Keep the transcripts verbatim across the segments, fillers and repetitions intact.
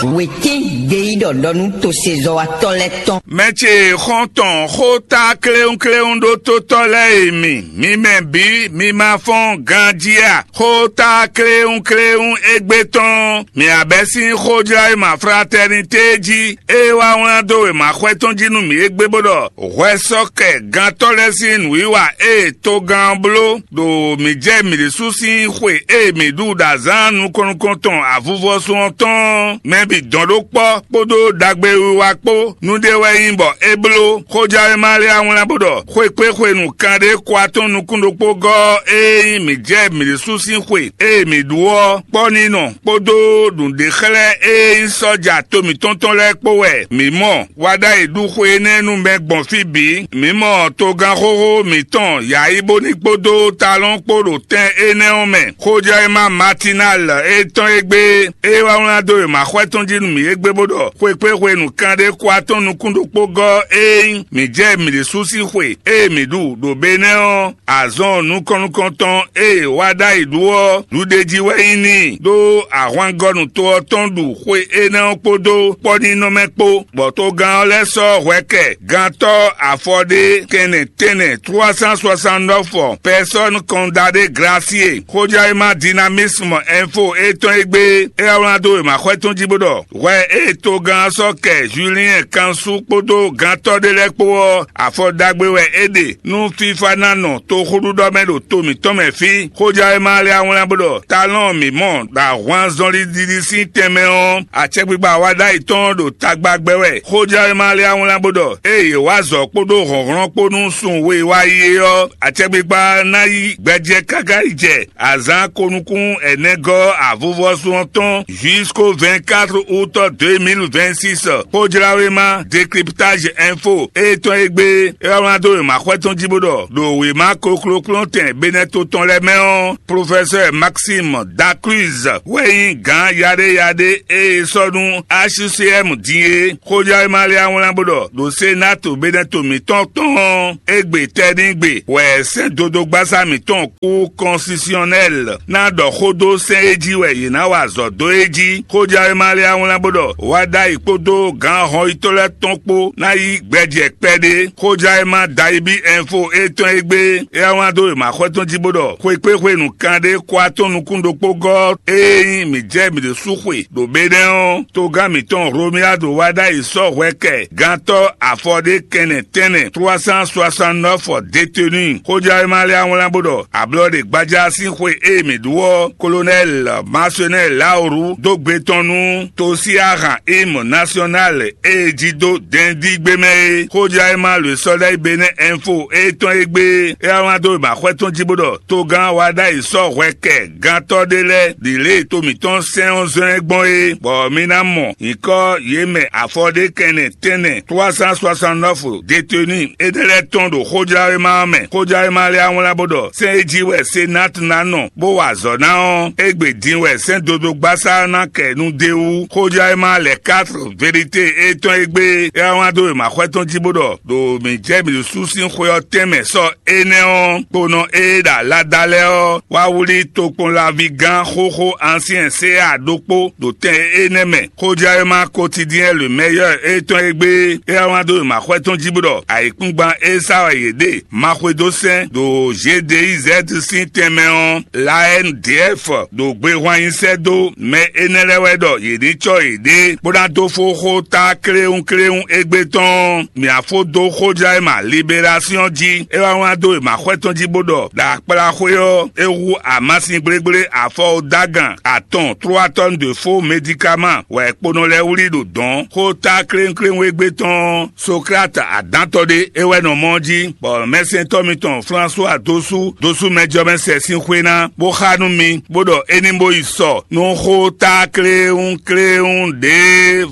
Wětín gbeyíɖɔ ɖɔ nú tosezɔ́watɔ́ lɛ́ɛ tɔn. Mɛ ce xɔ́ntɔn xó tá kléwúnkléwún ɖó tótɔ́ lɛ́ɛ e mi, mi mɛ bǐ, mi ma fɔ́n ganjí a? Xó tá kléwúnkléwún égbé tɔn, mi abɛ́ sín xójlá e ma fratɛrnité jí, ée wá wlán dó wěma xwɛ tɔn jí nú mǐ égbé bó ɖɔ hwɛ sɔ́ kɛ gantɔ́ lɛ́ɛ sín nǔwiwa e togán ɔ́ bló ɖo mǐ jɛ mǐ ɖésú sín xwe e mǐ ɖu ɖo azǎn nukɔn nukɔn tɔn avuvɔsun ɔ́ tɔn ɔ́, mɛ bǐ dɔn ɖó kpɔ́ kpódó ɖagbewiwa kpó. Nǔɖé wɛ nyí bɔ é bló. Xójánwéma lɛ́ɛ wá wlán bó ɖɔ xwekpéxwenu kanɖé kɔ atɔ́ɔ́n nukún ɖokpó gɔ́ ɔ́, ée nyí mǐ jɛ mǐ ɖésú sín xwe e mǐ ɖu ɔ́ kpɔ́ ní nɔ kpódó nǔɖé xlɛ́ e nyí sɔ́ja to mǐtɔn tɔn lɛ́ɛ kpó wɛ mǐ mɔ. Wa ɖ'ayǐ ɖu xwe énɛ́ nú mɛ gbɔn fí bǐ. Mǐ mɔ togán xóxó mǐtɔn Yayíbóní kpódó Talɔ́n kpó ɖo tɛn énɛ́ ɔ́ mɛ. Xójɛ́wéma Matinal e tɔn e gbé, é wá wlán dó wěma xwɛ tɔn jí nú mǐ égbé bó ɖɔ xwekpéxwenu kanɖé kɔ atɔ́ɔ́n nukún ɖokpó gɔ́ ée nyí mǐ jɛ mǐ ɖésú sín xwe e mǐ ɖu ɖo Benɛ́ ɔ́, azɔn nukɔn nukɔn tɔn e wá ɖ'ayǐ ɖu ɔ́, ɖuɖéjí wɛ nyí n'i ɖó ahwangɔ́nu to ɔ́ tɔn ɖu xwe énɛ́ ɔ́ kpódó kpɔ́nínɔmɛ kpó, bɔ togán ɔ́ lɛ́ sɔ́ hwɛ kɛ gantɔ́ afɔɖé kɛnɛ tɛnɛ trois cent soixante-neuf personnes condamnées graciées. Xójɛ́wéma Dynamisme Info e tɔn e gbé, é wá wlán dó wěma xwɛ tɔn jí bó ɖɔ hwɛ e togán ɔ́ sɔ́ kɛ Julien Kansu kpódó gantɔ́ ɖé lɛ́ɛ kpó ɔ́, afɔ ɖagbe wɛ é ɖe nú fífá ná nɔ toxóɖuɖɔ mɛ ɖo to mǐtɔn mɛ fí. Xójɛ́wéma lɛ́ɛ wá wlán bó ɖɔ talɔn mǐ mɔ ɖo ahwan zɔnlin ɖiɖi sín tɛnmɛ ɔ́, acɛkpikpa wa ɖ'ayǐ tɔn ɖo tagba gbɛ wɛ. Xójɛ́wéma lɛ́ɛ wá wlán bó ɖɔ ée yě wá azɔ̌ kpódó hlɔ̌nhlɔ́n kpó nú sun we wá yi é ɔ́, acɛkpikpa ná yí gbɛjɛ káká yi jɛ azǎn ko nukún ɛnɛgɔ́ avuvɔ́sún ɔ́ tɔn jusqu'au vingt-quatre août deux mille vingt-six. Xójláwéma Décryptage Info e tɔn e gbé é wá wlán dó wěma xwɛ tɔn jí bó ɖɔ ɖo wěma koklókplɔ́ntɛn Benɛ́to tɔn lɛ́ɛ mɛ ɔ́, Professeur Maxime Dacruz wɛ nyí gǎn yaɖéyaɖé e è sɔ́ nú H C M din é. Xójláwéma lɛ́ɛ wá wlán bó ɖɔ ɖo Sénat Benɛ́to mǐtɔn tɔn ɔ́, égbé tɛ́nigbe wɛ sɛ́n dodógbasá mǐtɔn kú constitutionnel ná ɖɔ xó dó sɛ́n e jí wɛ yě ná wa azɔ̌ dó é jí. Xójɛ́wéma lɛ́ɛ wá wlán bó ɖɔ wá ɖ'ayǐ kpódó gǎn hɔnyitɔ́ lɛ́ɛ tɔn kpó ná yí gbɛjɛ kpɛɖé. Xójɛ́wéma Dayibí Info e tɔn e gbé é wá wlán dó wěma xwɛ tɔn jí bó ɖɔ xwekpéxwenu kanɖé kɔ atɔ́ɔ́n nukún ɖokpó gɔ́ ée nyí mǐ jɛ mǐ ɖésú xwe ɖo Benɛ́ ɔ́, togán mǐtɔn Romuald wá ɖ'ayǐ sɔ́ hwɛ kɛ gantɔ́ afɔɖé kɛnɛ tɛnɛ trois cent soixante-neuf détenus. Xójɛ́wéma lɛ́ɛ wá wlán bó ɖɔ ablɔ ɖe gbaja sín xwe e mǐ ɖu ɔ́, Colonel Marcenel Laoru dó gbe tɔn nú tosí ahan hymne national e jí dó dɛndígbé mɛ é. Xójɛ́wéma le Soleil Benɛ́ Info e tɔn e gbé é wá wlán dó wěma xwɛ tɔn jí bó ɖɔ togán wá ɖ'ayǐ sɔ́ hwɛ kɛ gantɔ́ ɖé lɛ́ɛ ɖi lě e to mǐtɔn sɛn ɔ́ zɔ́n ɛ gbɔn é, bɔ mi ná mɔ nyǐkɔ yě mɛ afɔɖékɛnɛ tɛnɛ trois cent soixante-neuf détenus énɛ́ lɛ́ɛ tɔn ɖo xójláwéma ɔ́ mɛ. Xójláwéma lɛ́ɛ wá wlán bó ɖɔ sɛ́n e jí wɛ Senat ná nɔ bó wa azɔ̌ ná ɔ́, égbé din wɛ sɛ́n dodógbasá ɔ́ ná kɛ nu d'é wú. Xójláwéma lɛ quatre vérité e tɔn e gbé é wá wlán dó wěma xwɛ tɔn jí bó ɖɔ ɖo mǐ jɛ mǐ ɖésú sín xwe ɔ́ tɛnmɛ sɔ́ énɛ́ ɔ́, kponɔ e ɖo alada lɛ́ɛ ɔ́ wá wlí tokpɔnlaví gán xóxó Ancien C A ɖokpó ɖo tɛn énɛ́ mɛ. Xójɛ́wéma Quotidien le Meilleur e tɔn e gbé é wá wlán dó wěma xwɛ tɔn jí bó ɖɔ ayǐkúngban e sá wɛ yě ɖe ma xwedó sɛ́n ɖo G D I Z sín tɛnmɛ ɔ́, l'A N D F ɖo gbehwan nyi sɛ́ dó mɛ énɛ́ lɛ́ɛ wɛ ɖɔ yě ní cɔ́ yěɖée bó ná dó fó xó tá kléwúnkléwún égbé tɔn ɔ́, mǐ á fó dó xójlá e ma Libération jí. É wá wlán dó e ma xwɛ tɔn jí bó ɖɔ ɖo akpláxwé ɔ́, é hú amasin gblégblé afɔwúdágan atɔn trois tonnes de faux médicaments wɛ kponɔ lɛ́ɛ wlí ɖo dɔ̌n. Xó tá kléwúnkléwún égbé tɔn ɔ́, Socrate adǎntɔ́ ɖé é wɛ nɔ mɔ ɔ́ jí, bɔ mɛsɛntɔ́ mitɔn Flánsuwa dó sú dó sú mɛjɔmɛsɛ sín xwé ná, bó xá nú mi, bó ɖɔ é ní bó yi sɔ nú xó tá kléwún kléwún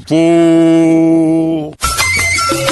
ɖěvo.